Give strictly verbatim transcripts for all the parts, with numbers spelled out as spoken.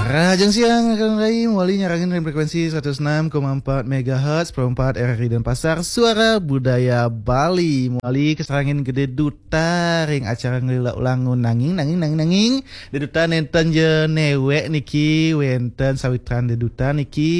Rahajeng siang, Kakang Rai, mawali nyarengin ring frekuensi seratus enam koma empat megahertz, Pro empat R R I Denpasar, Suara Budaya Bali. Mawali kasarengin Gede Duta ring acara Ngelila Ulang Nanging, Nanging, Nanging, Nanging. Gede Duta nenten ja newek niki, wenten sawitran Gede Duta niki,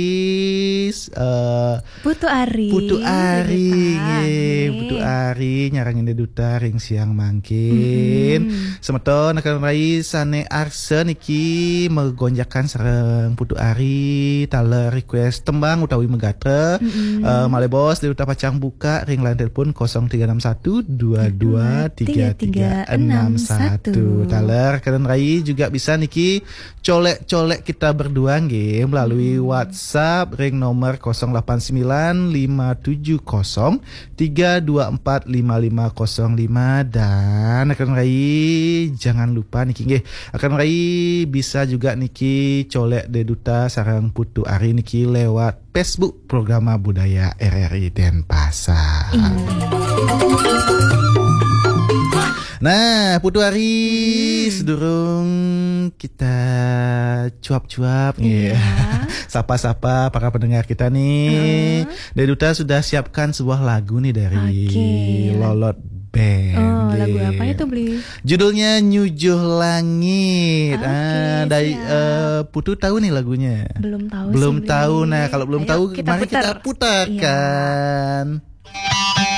eh, Putu Ari, Putu Ari, Gede Duta, nggih, nggih. Putu Ari nyarengin Gede Duta ring siang mangkin. Mm-mm. Semeton Kakang Rai sane arsa niki magonjakan sareng Putu Ari, taler request tembang utawi magatra. Mm-mm. Eh, malih baos Gede Duta pacang buka ring line telepon kosong tiga enam satu dua dua tiga tiga enam satu. Taler Kakang Rai juga bisa niki colek-colek kita berdua nggih melalui Hmm. WhatsApp ring nomor kosong delapan sembilan lima tujuh kosong tiga dua empat lima lima kosong lima. Dan Kakang Rai, jangan lupa niki nggih, Kakang Rai bisa juga niki colek Gede Duta sareng Putu Ari niki lewat Facebook Programa Budaya R R I Denpasar. Iya. Nah, Putu Ari, hmm, sedurung kita cuap-cuap, iya, nggih. Sapa-sapa para pendengar kita nih. Heeh. Gede Duta sudah siapkan sebuah lagu nih dari, oke, Lolot Band, oh, lagu, nggih, apa itu, Bli? Judulnya Nyujuh Langit. Oke, ah, dari, siap, eh, Putu tahu nih lagunya? Belum tahu sih, Bli. Belum tahu. Nah, kalau belum tahu, kita mari putar. Ayo kita putarkan. Iya.